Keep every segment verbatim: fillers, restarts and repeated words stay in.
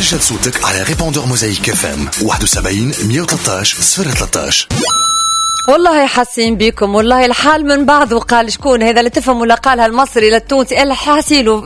سجل صوتك على répondeur موزايك اف ام واحد وسبعين مية وثلاثطاش صفر ثلاثطاش. والله حاسين بكم، والله الحال من بعض. وقال شكون هذا اللي تفهم ولا قالها المصري للتونسي؟ الحاسيل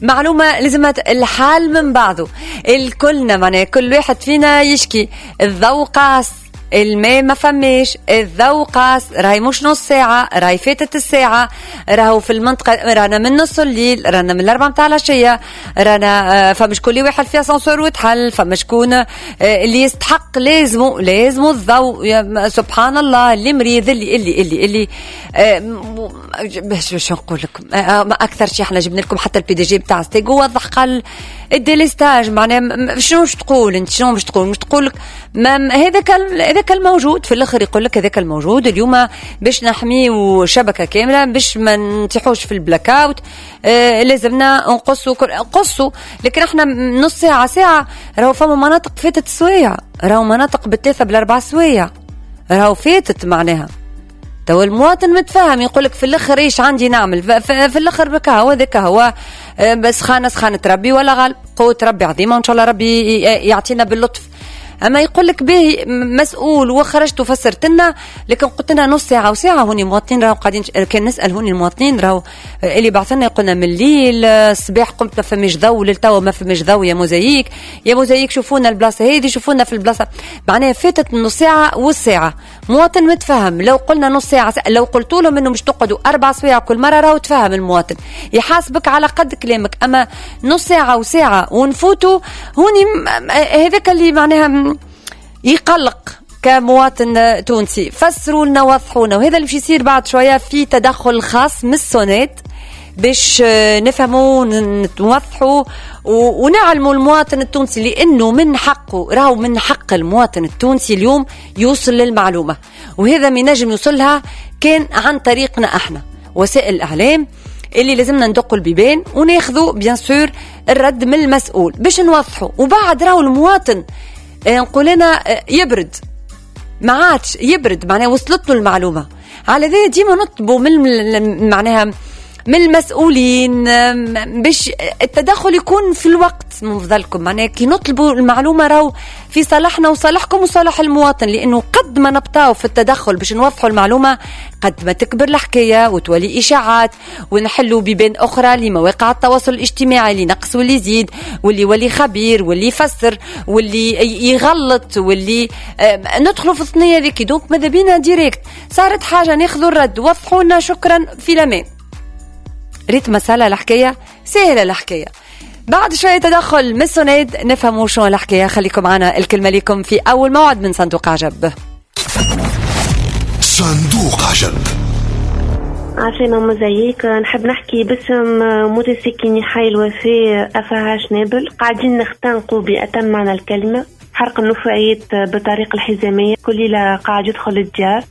معلومة لازم، الحال من بعضه، الكلنا معناها كل واحد فينا يشكي، الضوء قاص، الماء ما فماش، الضوء قاص، راهي مش نص ساعة، راهي فاتت الساعة، راهو في المنطقة رانا من نص الليل، رانا من الأربعة متاع العشية، رانا آه، فما شكون اللي واحد في اسانسور وتحل، فما شكون آه، اللي يستحق لازمه لازمه الضوء، سبحان الله، اللي مريض، اللي اللي اللي اللي آه، باش باش نقول لكم اكثر شيء، احنا جبنا لكم حتى ال PDG بتاع ستاغ وضح، قال ال délestage. معناها شنو باش تقول انت؟ شنو باش تقول؟ مش تقول لك هذاك هذاك الموجود. في الاخر يقول لك هذاك الموجود. اليوم باش نحميو شبكة كامله، باش ما نطيحوش في ال blackout، آه لازمنا نقصوا نقصوا. لكن احنا نص ساعه، ساعه، راهو فما مناطق فاتت سوايع، راهو مناطق بالثلاثة بالاربع سوايع راهو فاتت. معناها تو المواطن متفاهم، يقول لك في الاخر ايش عندي نعمل؟ في الاخر بك هو ذاك هو آه، بس خانه سخانه ربي ولا غالب، قوة ربي عظيمه، وان شاء الله ربي يعطينا باللطف. اما يقول لك به مسؤول وخرجت وفسرت لنا، لكن قلت لنا نص ساعة وساعه. هوني المواطنين راهو قاعدين، كان نسال هوني المواطنين راهو اللي بعث لنا يقولنا من الليل الصباح قمت ما فماش ضوء، للتوا ما فماش ضوء، يا موزايك يا موزايك، شوفونا البلاصة هذه، شوفونا في البلاصه. معناها فاتت نص ساعة والساعه. مواطن متفهم، لو قلنا نص ساعه، لو قلت لهم انه مش تقعدوا اربع سوايع كل مره، راهو تفهم المواطن، يحاسبك على قد كلامك. اما نص ساعة وساعة ونفوتوا هوني، هذاك اللي معناها يقلق كمواطن تونسي. فسروا لنا، وضحونا. وهذا اللي باش يصير بعد شوية في تدخل خاص من السوناد باش نفهموا، نوضحوا ونعلموا المواطن التونسي، لانه من حقه، راهو من حق المواطن التونسي اليوم يوصل للمعلومه، وهذا ما ينجم يوصلها كان عن طريقنا احنا وسائل الاعلام اللي لازمنا ندقوا البيبان وناخذوا bien sûr الرد من المسؤول باش نوضحوا. وبعد راهو المواطن آه، نقول انا آه، يبرد، ما عادش يبرد، معناها وصلت له المعلومه. على ذا ديما نطلبوا من معناها من المسؤولين باش التدخل يكون في الوقت من فضلكم. معناها كي نطلبوا المعلومة راهو في صالحنا وصالحكم وصالح المواطن، لانه قد ما نبطاو في التدخل باش نوضحوا المعلومة قد ما تكبر الحكاية وتولي اشاعات ونحلوا بيبان اخرى لمواقع التواصل الاجتماعي، اللي نقص واللي يزيد واللي يولي خبير واللي يفسر واللي يغلط واللي ندخلوا في الثنية ذيك. donc ماذا بينا direct صارت حاجة ناخذوا الرد، وضحوا لنا، شكرا، في الامان. ريت مسألة الحكاية سهلة الحكاية. بعد شوية تدخل من السوناد نفهموا شو الحكاية. خليكم معنا، الكلمة لكم في أول موعد من صندوق عجب. صندوق عجب. عسلامة موزايك، نحب نحكي باسم متساكني حي الوفاء أفاهاش نابل. قاعدين نختنقوا بأتم معنى الكلمة. حرق النفايات بالطريقة الحزامية، كل ليلة قاعد يدخل الديار.